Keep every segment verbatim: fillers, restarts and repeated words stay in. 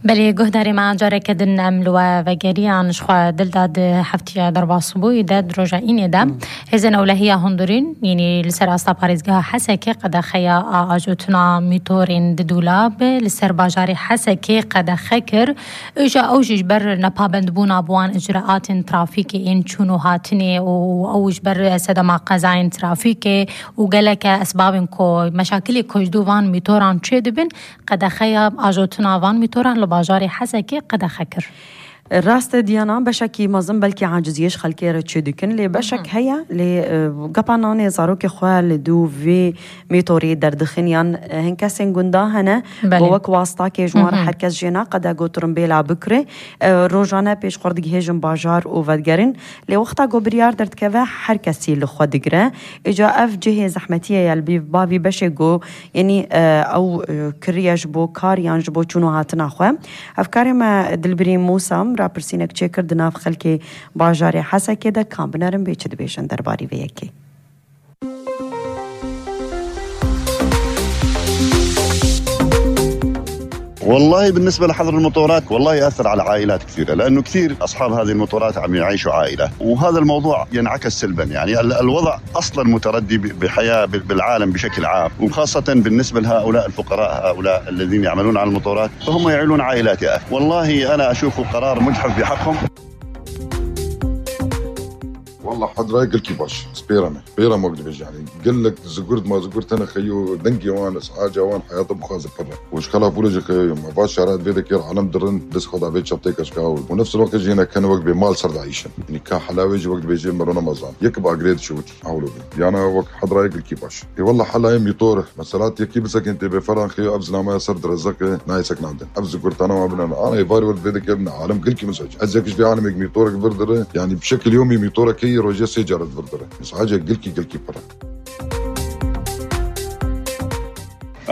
Belê, guhdarê me, careke din em li we vegeriyan, ji xwe Dilda, di heftiya derbasbûyî de, di roja înê de, hêzên ewlehiya hundirîn, yanî li ser asta parêzgeha Hesekê, qedexeya a ajotina mîtorên di dûlab li ser bajarê Hesekê qedexe kir. Îja ew jî ji ber nepabendbûna bi wan icraatên trafîkê ên çûn û hatinê û ew ji ber sedema qezayên trafîkê û geleke esbabên ku meşakilê ku ji dû van mîtoran çêdibin, qedexeya ajotina van mîtoran li bajarê Hesekê qedexe kir. Rast e Diyana, beşekî mezin belkî aciziyê ji xelkê re çêdikin, lê beşek heye, lê, e, gepa nanê zarokê xwe li dû vê mîtorê derdixin yan, e, hin kesên gunda hene, Belê. ku wek wastakê ji wan re her kes jê naqede ku tirimbêla bikire. E, rojane pêş xwe digihêjin bajar û vedigerin. Lê wexta ku biryar derdikeve, her kesî li xwe digire. Îca ev cihê zehmetiyê ye li bî-, bavî beşê ku, yanî, e, ew, e, kiriye ji bo kar yan ji bo çûn û hatina xwe. Hevkarê me Dilbirîn Mûsa rapirsînek çêkir di nav xelkê bajarê Hesekê de, ka binerin bê çi dibêjin derbarî vê yekê. والله بالنسبة لحظر المطورات، والله يأثر على عائلات كثيرة، لأنه كثير أصحاب هذه المطورات عم يعيشوا عائلة، وهذا الموضوع ينعكس سلبا. يعني ال-، الوضع أصلا متردي ب-، بحياة ب-، بالعالم بشكل عام، وخاصة بالنسبة لهؤلاء الفقراء، هؤلاء الذين يعملون على المطورات، فهم يعيلون عائلات يا أخي. والله أنا أشوفه قرار مجحف بحقهم. والله حضرة قلكي باش، سبيرة من. Pêra me dibêje, yanî gelek zigurt ma zigurt tene xeyo, dengê wan, saca wan heyata bixwaze pir e. Û ji xelaf wilo jî xeyo, me va şara vê dekê alem dirin, dest xwe da vê çeptê keşka û nefs wextê jî hene kene wek bê mal ser de ayîşin. Yanî ka helawê jî wek dibêje merona mazan. Yek bi agrê diçût, awlo bû. Yana wek hedra yek ilkî baş. Ê wallah helayê mîtor, mesela yekî bisekên tê bê feran xeyo ev zinamaya ser direzek e, nayê seknandin. Ev zigurtana ma binen. Ana ê varê wek vê dekê bine alem gilkî min sac. Ez yek ji vê alemê mîtorek vir dire, yanî bi şekil yomî mîtorek heye rojê sê caret vir dire. Sace gilkî, gilkî pir e.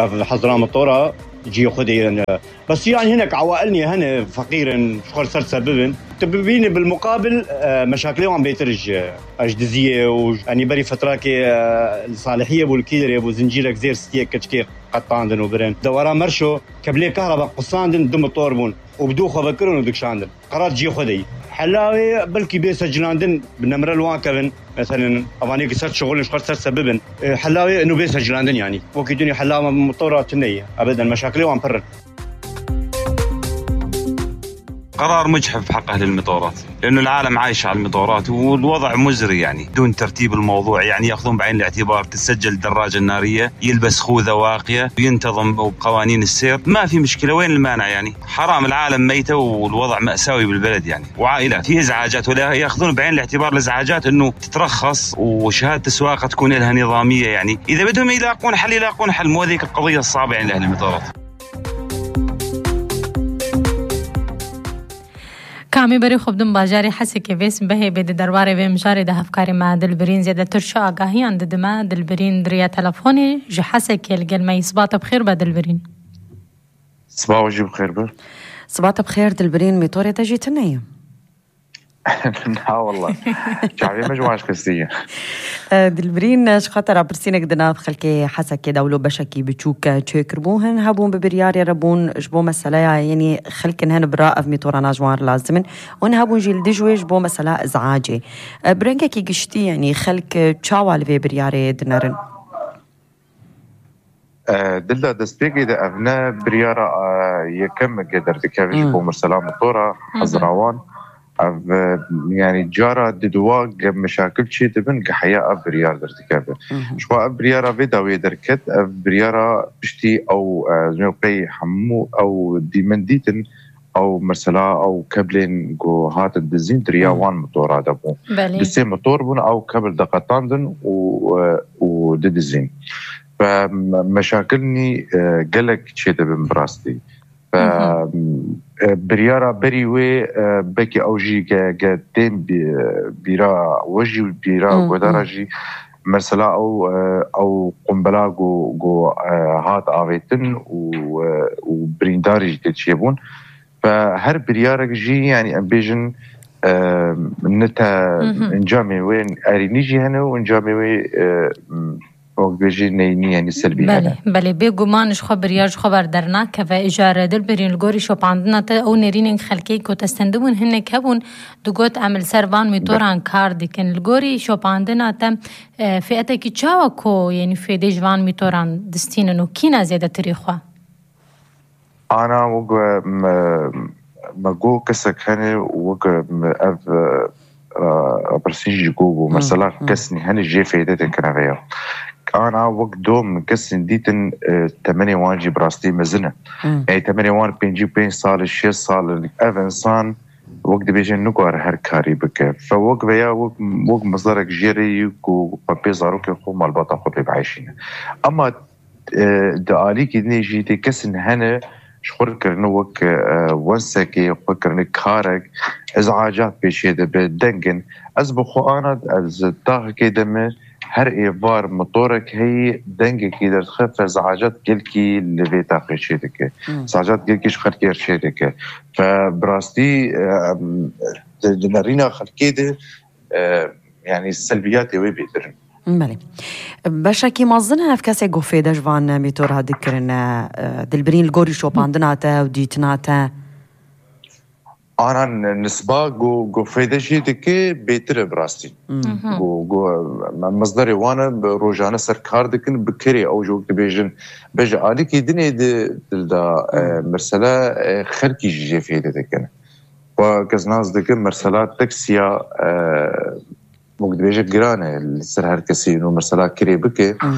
Ev hezra motora cihê xwe de yên. Bes yan hinek ewail niye hene feqîr in, ji xwe ser ser bibin. Tu bibînî bil muqabil, e, meşakilê wan bêtir ji, e, ji diziyê û, yanî berî fetrakê, e, li Salihiyê bû, li Kîdirê bû, zincîrek zêr stiyê keçikê qetandin û birin. Dewera Merşo, keblê kahraba qusandin, du motor bûn û bi dû xwe vekirin û dikişandin. Qerar cihê xwe de yî. Hela wê belkî bê secilandin, bi nemre li wan kevin. Meselen, evanê ki ser şixulin, ji xwe ser sebibin. E, hela wê ino bê secilandin yanî. Wekî dunî hela motora tune ye. Ebeden, meşakilê wan pir in. قرار مجحف بحق أهل المطورات، لأنه العالم عايشة على المطورات والوضع مزري، يعني دون ترتيب الموضوع، يعني يأخذون بعين الاعتبار تسجل الدراجة النارية، يلبس خوذة واقية، ينتظم بقوانين السير، ما في مشكلة، وين المانع يعني؟ حرام، العالم ميتة والوضع مأساوي بالبلد يعني، وعائلات في إزعاجات، ولا يأخذون بعين الاعتبار الإزعاجات إنه تترخص وشهادة السواقة تكون لها نظامية يعني. إذا بدهم يلاقون حل، يلاقون حل، مو هذيك القضية الصعبة يعني لأهل المطارات. Kamî berê xwe bidin bajarê Hesekê vê sibehê bê di derbarê vê mijarê de hevkarê me Dilbirîn zêdetir çi agahiyan didime. Dilbirîn di riya telefonê ji Hesekê li gel me yî. Sibata bi xêr be Dilbirîn. Sibawa jî bi xêr be. Sibata bi xêr Dilbirîn, mîtorê te jî tune ye. Na wallah. Çavê me ji wan ji xistî ye. E, Dilbirîn, ji xwe te rapirsînek di nav xelkê Hesekê de wilo beşekî biçûk çêkiribû. Hin hebûn bi biryarê re bûn ji bo meseleya, yanî xelkin hin bira ev mîtorana ji wan re lazim in. Û hin hebûn jî li dij wê ji bo mesela iz'acê. E, bi rengekî giştî, yanî xelk çawa li vê biryarê dinerin? E, Dilda, destpêkê de ev ne biryara, e, yekem ke derdikeve ji Hı. bo mesela motora, Hı hı. hezrawan. Ev, e, yani cara diduwa ge meşakil çê dibin, ge heya ev biryar derdikeve. Hı hı. Ji xwe ev biryara vê dawiyê derket, ev biryara piştî ew, e, ez ê qey hemû ew dîmin dîtin, ew mesela ew keblên ku hatin dizîn di riya Hı. wan motora de bû. Belê. Du sê motor bûn, ew kebl diqetandin û, e, û didizîn. Ve me-, meşakil nî, e, gelek çêdibin bi rastî. Ve, Hı hı. e, biryara berî wê, e, belkî ew jî ge, ge tên bî-, bîra we jî, bîra Hı hı. guhdara jî, mesela ew, e, ew qumbela ku, ku, e, hat avêtin û, e, û birîndarî jî tê çêbûn. Ve her biryarek jî, yani em bêjin, e, ne te Hı hı. encamê wê erînî jî hene û encamê wê, e, wek bêjî neynî, yanî selbî Belê, hene. Belê, bêguman ji xwe biryar ji xwe ber dernakeve. Îcar Dilbirîn, li gorî şopandina te ew nêrînên xelkê ku te stendibûn hinek hebûn, digot, em li ser van mîtoran kar dikin. Li gorî şopandina te, e, fêetekî çawa ku, yanî fêdê ji van mîtoran distînin û kî ne zêdetirî xwe? Ana wek me, me got kesek hene wek me ev, e, e, pirsî jî got bû. Mesela kesên hene jê fêde dikin vêya. Ana wek dom kesên dîtin, e, temenê wan jî bi rastî mezin e. Ey temenê wan pêncî û pênc sal, şêst sal in. Ev insan wek dibêjin nikare her karî bike. Fe wek veya wek, wek mizdarek jê re yî ku xwe pê zarokên xwe malbata xwe pê bieyşîne. Ama e, di alîkî dinê jî tê kesên hene ji xwe kirine wek, e, wensekê, xwe kirine karek, îzacat pêşê dibe, deng in. Ez bi xwe ana, ez tahekê de me her êvar motorek heyî, dengekî derdixe, fe îzacat gelkî li vê taxê çê dike. Hmm. Îzacat gelkî ji xelkê re çê dike. Fe bi rastî, e, em, di, di nerîna xelkê de, e, yanî selbiyatê wê bêtir in. Belê. Beşekî mezin e ev kesê ku fêde ji van mîtora dikirin, e, Dilbirîn li gorî şopandina te û dîtina te? Ana n-, nisba ku, ku fêde jê dike bêtir e bi rastî. Hmm. Mhm. Ku, ku, me-, mizderê wan e, bi rojane ser kar dikin, bi kirê ew jî wek dibêjin. Be ji alîkî dinê di dil de, e, Hmm. mesela, e, xelkî jî jê fêde dikin. Xwe kes nas dikim, mesela taksiya, e, wek dibêje giran e li ser her kesî, û mesela kirê bike, Hmm.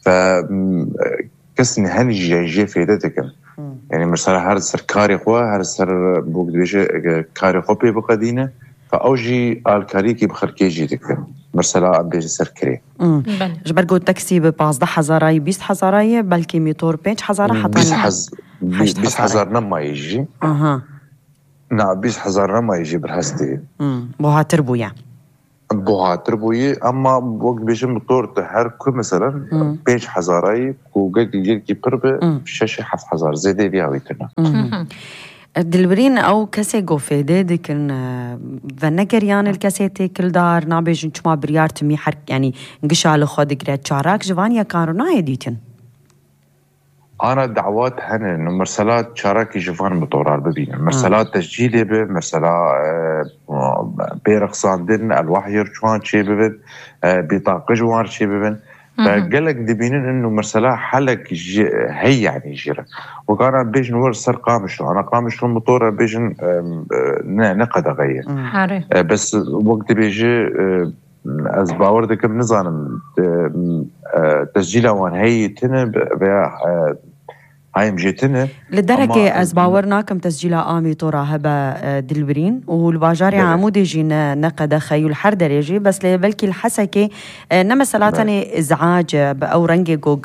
ve, m, e, kesên henî jî jê fêde dikin. Hmm. Yanî mesela her ser karê xwe, her ser, wek dibêje, e, karê xwe pê biqedîne, ve ew jî alkariyekî bi xelkê jî dikin. Mesela em bêjin ser kirê. Hmm. Belê. Ji ber ku taksî bi pazdeh hezarayî, bîst hezarayî, belkî mîtor pênc hezara heta bîst hez-, heşt bîst hezar hezarayî. Nemayî jî. Aha. Na, bîst hezar nemayî jî bi rastî. Hmm, buhatir bûye. Buhatir bûye, ama wek dibêjin motor tu her ku, meselen, Hmm. pênc hezarayî ku gelkî, gelkî pir be, Hmm. şeş heft hezar zêdê viya wî tune. Hmm. Hı hı. Dilbirîn, ew kesê ku fêdê dikin, e, venegeriyan li kesê têkildar, nabêjin çima biryar timî her, yanî gişa li xwe digire, çarak ji van yekan re nayê dîtin. Ana dawat hene, no mesela çarakî ji van motorar bibînin. Mesela tescîlê bi, mesela, e, pê rexsandin, elwah yê çiwan çê bibin, e, bîtaqe ji wan çê bibin. Ve gelek dibînin ino mesela helek ji, hey yanî jî re. Wek ana bêjin wer ser Qamişlo. Ana Qamişlo motora bêjin, e, e, ne, ne qedexe ye. Are. E, bes wek dibêji, e, Ez bawer dikim, nizanim, e, e, tescîla wan heyî tune be, veya, e, hayim jê tune. Li derekê Ama ez bawer nakim tescîla a mîtora hebe, e, Dilbirîn, û li bajarê Belê. Amûdê jî ne, ne qedexe û li her derê jî, bes lê belkî li Hesekê, e, ne mesela Belê. Tenê îzac e, bi ew rengê ku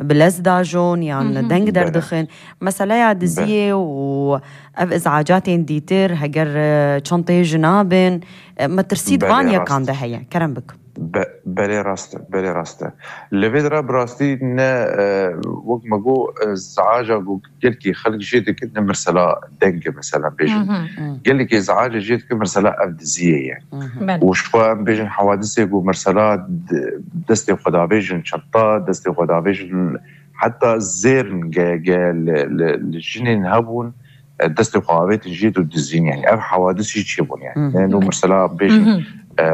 bi lez dajon yan Hı hı. deng Belê. Derdixin. Meseleya Belê. Diziyê û ev îzacatên dîtir, heger, e, çanteyê jina bin, e, metirsî di Belê, van rast. Yekan de heye. Kerem bik. Be-, belê rast e, belê rast e. Li vê dira bi rastî ne, e, wek me got, e, îzaca ku gelkî xelk jê dikin, ne mesela deng e, mesela bêjin. Hı hı. Hı. Gelekî îzaca jê dikin, mesela ev diziyê ye. Hı hı. Belê. Û ji xwe em bêjin hewadisê ku mesela d-, destê xwe davêjin çenta, destê xwe davêjin heta zêrin ge, ge li, li, li jinên hebûn, e, destê xwe avêtin jê û dizîn, yani ev hewadis jî çêbûn, yani. Hı hı. Yani, Belê. Mesela bêjin, Hı hı. e,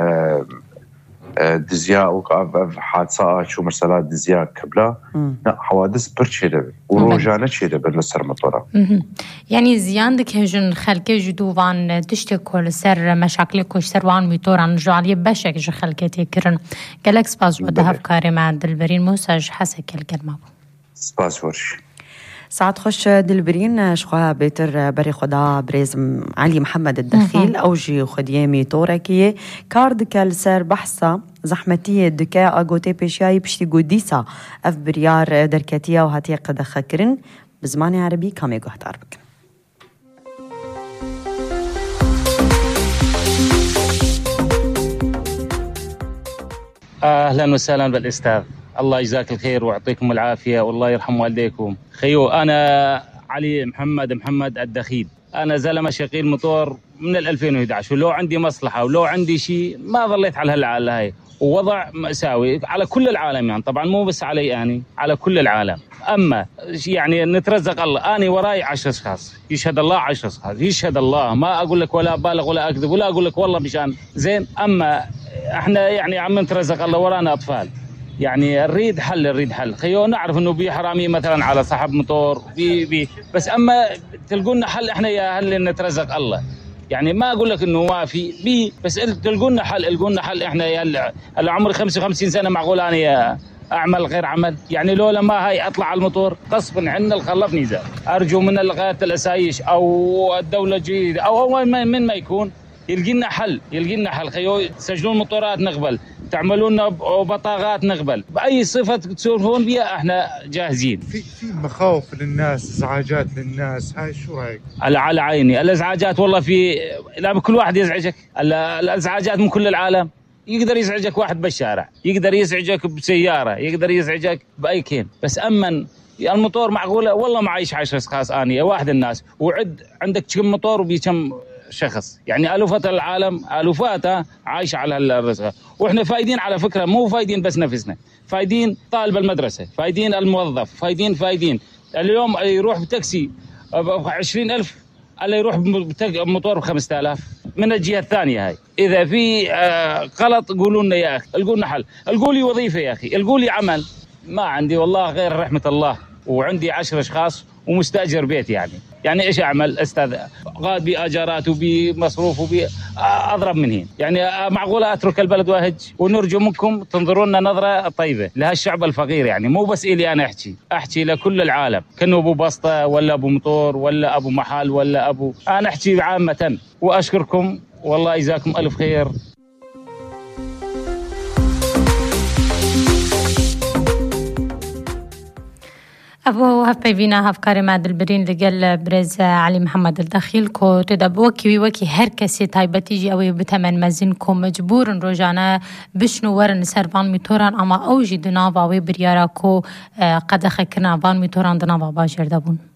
e, diziya û ev, ev hadisa a çû, mesela diziya Kibla, Hı. ne, hewadis pir çêdibin û Belê. Rojane çêdibin li ser motora. Hı hı. Yani ziyan dikevin xelkê ji dû van tiştê ku li ser meşaklê ku ji ser wan mîtoran ji aliyê beşek ji xelkê tê kirin. Gelek spas ji we Belê. Hevkarê me Dilberîn Musa ji Hesekê li gel me bû. Spas xweş. Saet xweş Dilbirîn, ji xwe bêtir berê xwe da birêz Elî Mihemed Dexîl, Hı hı. Ew jî xwediyê mîtorekî ye. Kar dike li ser behsa zehmetiyê dike, a gotê pêşiyayî piştî ku dîsa ev biryar derketiye û hatiye qedexekirin, bi zimanê erebî kamê guhdar bikin. أهلًا وسهلًا بالأستاذ. الله يجزاك الخير ويعطيكم العافية والله يرحم والديكم. خيو، أنا علي محمد محمد الدخيل. أنا زلمة شغيل مطور من ال ألفين وأحد عشر، ولو عندي مصلحة ولو عندي شيء ما ظليت على هالعالة هاي. ووضع مأساوي على كل العالم، يعني طبعًا مو بس علي أنا، على كل العالم. أما يعني نترزق الله، أنا وراي عشر أشخاص، يشهد الله عشر أشخاص، يشهد الله، ما أقول لك ولا أبالغ ولا أكذب ولا أقول لك والله مشان زين. أما احنا يعني عم نترزق الله، ورانا أطفال. يعني نريد حل، نريد حل. خيو نعرف إنه بي حرامي مثلًا على صاحب موتور، بي، بي. بس أما تلقونا حل، احنا يا أهل نترزق الله. يعني ما أقول لك إنه ما في، بي، بس ال-، تلقونا حل، القونا حل. احنا يا ال-، هلا عمري خمسة وخمسين سنة، معقول أنا يا أعمل غير عمل؟ يعني لولا ما هاي أطلع على الموتور غصبًا عنا الخلف نزال. أرجو من الغاية الأسايش أو الدولة الجديدة أو، أو من، من ما يكون، يلقي لنا حل، يلقي لنا حل. خيو تسجلون مطورات نقبل، تعملون ب-، بطاقات نقبل، بأي صفة تسولفون بها احنا جاهزين. في في مخاوف للناس، ازعاجات للناس، هاي شو رايك؟ على، على عيني. الازعاجات والله في، لا، كل واحد يزعجك. ال-، الازعاجات من كل العالم. يقدر يزعجك واحد بالشارع، يقدر يزعجك بسيارة، يقدر يزعجك بأي كين. بس أمن الموتور معقولة؟ والله معيش عشر أشخاص أني واحد الناس، وعد عندك كم موتور وبي كم شخص؟ يعني ألوفة العالم، ألوفاتها عايشة على هالرزقة. وإحنا فايدين على فكرة، مو فايدين بس نفسنا، فايدين طالب المدرسة، فايدين الموظف، فايدين، فايدين. اليوم يروح بتاكسي ب عشرين ألف، الا يروح بم-، بتاك-، بموتور ب خمسة آلاف. من الجهة الثانية هاي، إذا في، آه، غلط قولوا لنا يا أخي، القوا لنا حل، القوا لي وظيفة يا أخي، القوا لي عمل. ما عندي والله غير رحمة الله، وعندي عشر أشخاص ومستأجر بيت يعني. يعني إيش أعمل أستاذ؟ قاعد بإيجارات وبمصروف وب، آه، أضرب من هين. يعني، آه، معقولة أترك البلد وأهج؟ ونرجو منكم تنظروا لنا نظرة طيبة لهالشعب الفقير، يعني مو بس إلي أنا أحكي، أحكي لكل العالم، كأنه أبو بسطة ولا أبو مطور ولا أبو محل ولا أبو، أنا أحكي عامة. وأشكركم والله يجزاكم ألف خير. Ev bû hevpeyvîna hevkarê me Dilbirîn li gel birêz Elî Mihemed Dexîl, ku tê de bi wekî wî, wekî her kesê taybetî jî ew ê bi temen mezin ku mecbûr in rojane bişin û werin li ser van mîtoran, ama ew jî di nava wê biryara ku, e, qedexekirina van mîtoran di nava bajêr de bûn.